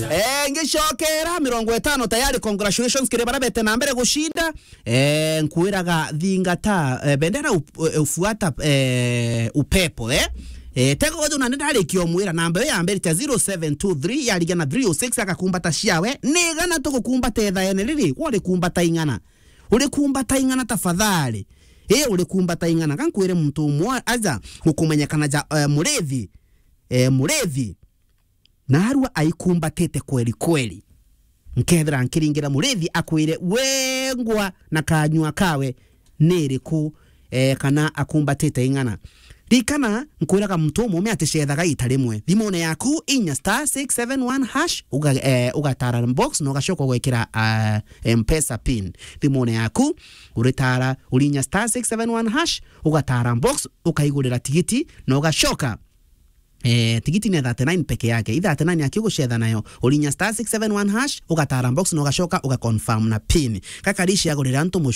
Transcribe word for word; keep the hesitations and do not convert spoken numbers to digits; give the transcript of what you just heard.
Eh, ngicokera mirongo itano tayari, congratulations kiri bara bete na mbere gucinda. Eh, nkwiraga thingata, eh, bendera up-, eh, ufuata, eh, upepo, eh. Eh, tego gojo na ndarikia umwira namba iyo ya mbere cia zero seven two three yarigia na three oh six, agakumbata ciawe. Ni igana tugukumbata ethaene riri, uri kumbata ing'ana. Uri kumbata ing'ana tafadhali. Eh, uri kumbata ing'ana. Kankwire muntu umwe aja gukumenyekana ja, eh, Murithi. Eh, Murithi. Narua aikumbatite kweli kweli. Nkethira nkiringira Murithi akwire wengwa na kanyua kawe ni iriku, eh, kana akumbatite ing'ana. Rikana, nkwiraga muntu umume aticethaga ita rimwe. Thimune yaku, inya star six seven one hash, uga-, eh, ugatara box na ugacoka ugwikira, ah, M-Pesa pin. Thimune yaku, uritara, urinya star six seven one hash, ugatara box, ukaigurira tigiti na ugacoka Eh, tigiti ni thirty-nine peke yake. I thirty-nine aki ugucetha nayo. Urinya star six seven one hash, ugatara box na ugacoka ugaconfirm na pin. Kakarishi agurira antu mucu-